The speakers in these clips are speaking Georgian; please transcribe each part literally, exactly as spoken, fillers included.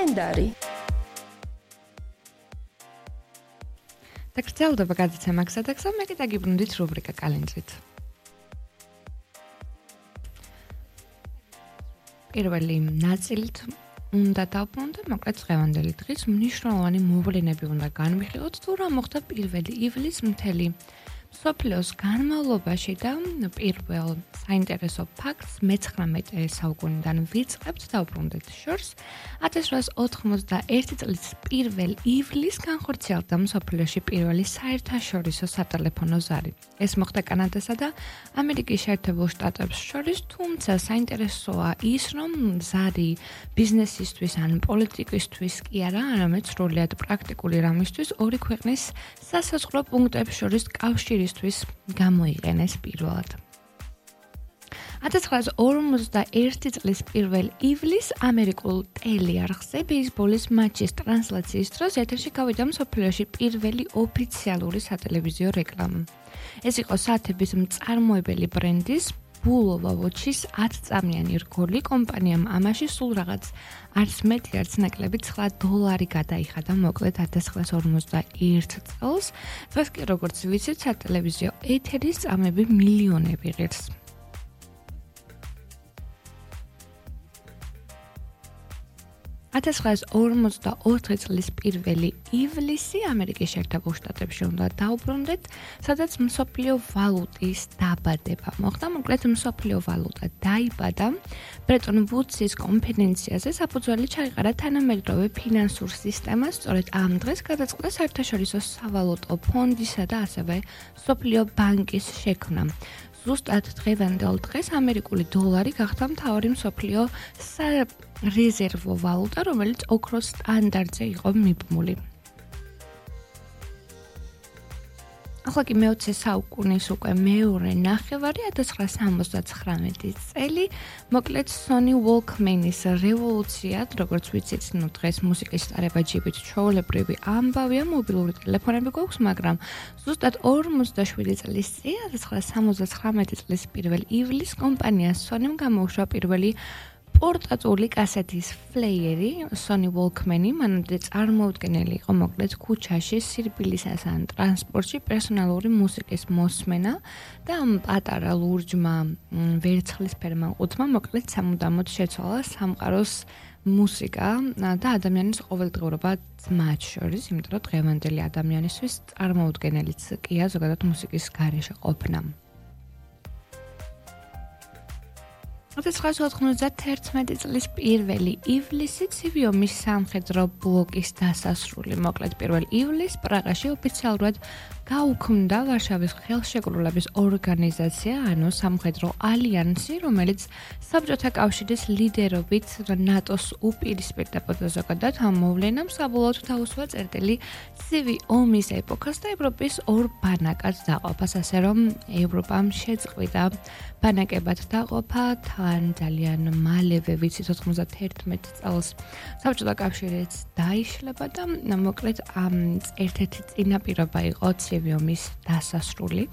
კალენდარი. დაგრძელდება გადაცემა გზადაგზა, მე კი დაგიბრუნდით რუბრიკა კალენდრით. პირველი ნაწილით უნდა დავბრუნდეთ, მოკლედ დღევანდელი დღის მნიშვნელოვანი მოვლენები უნდა განვიხილოთ, თუ რა მოხდა პირველი ივლისს მთელი მსოფლიოს განმავლობაში და პირველ საინტერესო ფაქტს მეცხრამეტე საუკუნიდან ვიწყებთ დავბრუნდეთ შორს. ათას რვაას ოთხმოცდაერთი წლის პირველ ივლისს განხორციელდა მსოფლიოში პირველი საერთაშორისო სატელეფონო ზარი. ეს მოხდა კანადასა და ამერიკის შეერთებულ შტატებს შორის, თუმცა საინტერესოა ის, რომ ზარი ბიზნესისთვის ან პოლიტიკისთვის კი არა, არამედ სრულიად პრაქტიკული რამისთვის ორი ქვეყნის სასაზღვრო პუნქტებს შორის კავშირისთვის გამოიყენეს პირველად. ათას ცხრაას ორმოცდაერთი წლის პირველ ივლისს ამერიკულ ტელეარხზე ბეისბოლის მატჩის ტრანსლაციის დროს ეთერში გავიდა მსოფლიოში პირველი ოფიციალური სატელევიზიო რეკლამა. ეს იყო საათების მწარმოებელი ბრენდის ბულოვა ვოჩის ათწამიანი რგოლი. კომპანიამ ამაში სულ რაღაც არც მეტი არც ნაკლები ცხრა დოლარი გადაიხადა მოკლედ ათას ცხრაას ორმოცდაერთი წელს. დღეს კი როგორც ვიცით, სატელევიზიო ეთერის წამები მილიონები ღირს. ათას ცხრაას ორმოცდაოთხი წლის პირველი ივლისი ამერიკის შეერთებულ შტატებში უნდა დავბრუნდეთ, სადაც მსოფლიო ვალუტის დაბადება მოხდა. მოკლედ მსოფლიო ვალუტა დაიბადა ბრეტონ ვუდსის კონფერენციაზე, საფუძველი ჩაიყარა თანამედროვე ფინანსურ სისტემას. სწორედ ამ დღეს გადაწყდა საერთაშორისო სავალუტო ფონდისა და ასევე მსოფლიო ბანკის შექმნა. ზუსტად დღევანდელ დღეს ამერიკული დოლარი გახდა მთავარი მსოფლიო სარეზერვო ვალუტა, რომელიც ოქროს სტანდარტზე იყო მიბმული. ახლა კი მეოცე საუკუნის უკვე მეორე ნახევარი, ათას ცხრაას სამოცდაცხრამეტი წელი, მოკლედ Sony Walkman-ის რევოლუციად, როგორც ვიცით, ნუ დღეს მუსიკის ტარება ჯიბით ჩვეულებრივი ამბავია, მობილური ტელეფონები გვაქვს, მაგრამ ზუსტად ორმოცდაშვიდი წლის წინ, ათას ცხრაას სამოცდაცხრამეტი წლის პირველ ივლისს კომპანია Sony-მ გამოუშვა პირველი პორტატული კასეთის ფლეიერი Sony Walkman-ი, მანამდე წარმოუდგენელი იყო მოკლედ ქუჩაში, სირბილისას ან ტრანსპორტში პერსონალური მუსიკის მოსმენა და ამ პატარა ლურჯმა ვერცხლისფერმა ყუთმა მოკლედ სამუდამოდ შეცვალა სამყაროს მუსიკა და ადამიანის ყოველდღიურობა მათ შორის, იმიტომ რომ დღევანდელი ადამიანისთვის წარმოუდგენელიც კია ზოგადად მუსიკის გარეშე ყოფნა. ათას ცხრაას ოთხმოცდათერთმეტი წლის პირველი ივლისი ცივი ომის სამხედრო ბლოკის დასასრული. მოკლედ პირველ ივლისს პრაღაში ოფიციალურად გაუქმდა ვარშავის ხელშეკრულების ორგანიზაცია, ანუ სამხედრო ალიანსი, რომელიც საბჭოთა კავშირის ლიდერობით ნატოს უპირისპირდებოდა. ზოგადად ამ მოვლენამ საბოლოოდ თავისუფა წერტილი ცივი ომის ეპოქას და ევროპის ორ ბანაკად დაყოფას, ასე რომ ევროპამ შეწყვიტა ბანაკებად დაყოფა. თან ძალიან მალევე ვიცით ოთხმოცდათერთმეტი წელს საბჭოთა კავშირიც დაიშლება და მოკლედ ამ ერთ-ერთი წინაპირობა იყო ცივი ომის დასასრული.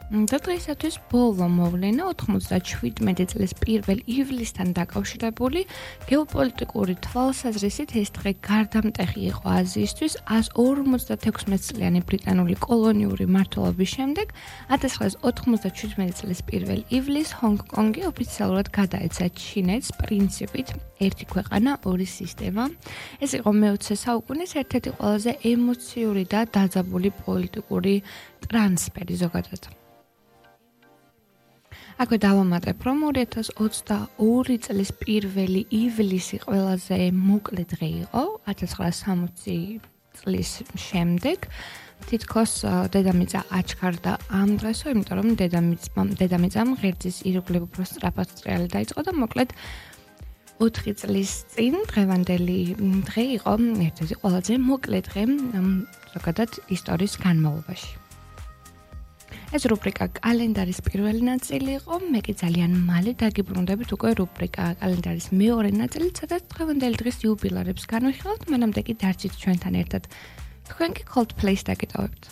და დღეისათვის ბოლო მოვლენა ოთხმოცდაშვიდმეტი წლის პირველ ივლისთან დაკავშირებული გეოპოლიტიკური თვალსაზრისით ეს დღე გარდამტეხი იყო აზიისთვის. ასს ორმოცდათექვსმეტი წლიანი ბრიტანული კოლონიური მმართველობის შემდეგ ათას ცხრაას ოთხმოცდაშვიდმეტი წლის პირველ ივლისს ჰონგ-კონგი ოფიციალურად გადაეცა ჩინეთს პრინციპით ერთი ქვეყანა, ორი სისტემა. ეს იყო მეოცე საუკუნის ერთ-ერთი ყველაზე ემოციური და დაძაბული პოლიტიკური ტრანსფერი ზოგადად. აქვე დავამატებ, რომ ორი ათას ოცდაორი წლის პირველი ივლისი ყველაზე მოკლე დღე იყო, ათას ცხრაას სამოცი წლის შემდეგ. თითქოს დედამიწა აჩქარდა ამ დღესო, იმიტომ რომ დედამიწამ ღერძის ირგვლივ უფრო სწრაფად ტრიალი დაიწყო და მოკლედ ოთხი წლის წინ დღევანდელი დღე იყო ერთ-ერთი ყველაზე მოკლე დღე ზოგადად ისტორიის განმავლობაში. ეს რუბრიკა კალენდარის პირველი ნაწილი იყო, მე კი ძალიან მალე დაგიბრუნდებით უკვე რუბრიკა კალენდარის მეორე ნაწილით, სადაც დღევანდელი დღის იუბილეებს განვიხილავთ, მანამდე კი დარჩით ჩვენთან ერთად. თქვენ კი Coldplay-ს დაგიტოვებთ.